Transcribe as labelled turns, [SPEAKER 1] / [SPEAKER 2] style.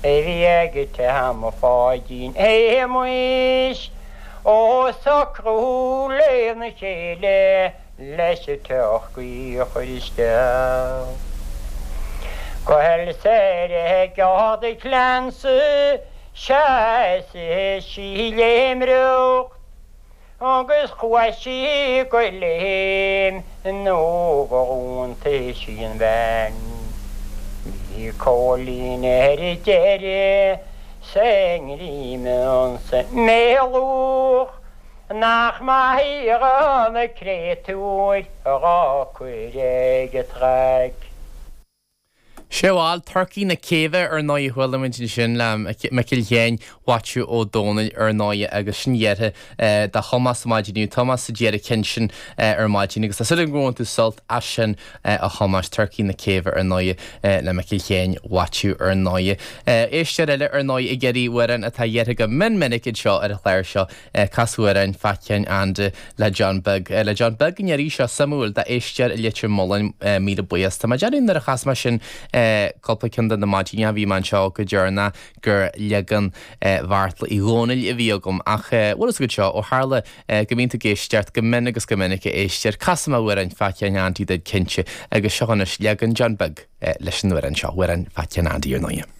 [SPEAKER 1] A bhí ag Tom Pháidín Shéamuis ó socrú lena chéile leis an turcaí a chur isteach. Go bhfuil soir ag Ard a Cleansaigh sheas sí léimreacht Agus chuaigh sí go léim nó gur iontaigh sí an bhean. Bhí Cóilín ar deireadh 's a ngreim insa mbéalach nach maith do na créatúir dhá cur ag an traic.
[SPEAKER 2] Sea bhal, Turcaí na Céibhe ar ndóigh a chuala muid ansin le Micil Sheáin Mhaitiú Ó Dónaill ar ndóigh agus sin iarrtha do Thomás maidin inniu. Tomás a d'iarr an ceann sin ar maidin agus tá súil agam gur bhain tú sult as sin a Thomáis, Turcaí na Céibhe ar ndóigh le Micil Sheáin Mhaitiú ar ndóigh. Éisteoir eile ar ndóigh ag iarraidh amhrán atá iarrtha go mion minic anseo ar an chlár seo Cas Amhrán Pheait Sheáin Aindí le John Beag. Le John Beag an iarraidh seo, suimiúil, d'éisteoir i Leitir Mealláin, míle buíochas. Tá mé ag déanamh nuair a chas mé sin cúpla ceann de na maidineacha a bhí mé anseo go deireanach gur leagan Bheartla Uí Dhónaill a bhí agam ach bhfuil fhios agat seo, ó tharla go mbíonn tú ag éisteacht go mion agus go minic a éisteoir, casfaidh mé Amhrán Pheait Sheáin Aindí duit cinnte agus seo anois leagan John Beag leis an amhrán seo, Amhrán Pheait Sheáin Aindí ar ndóighe.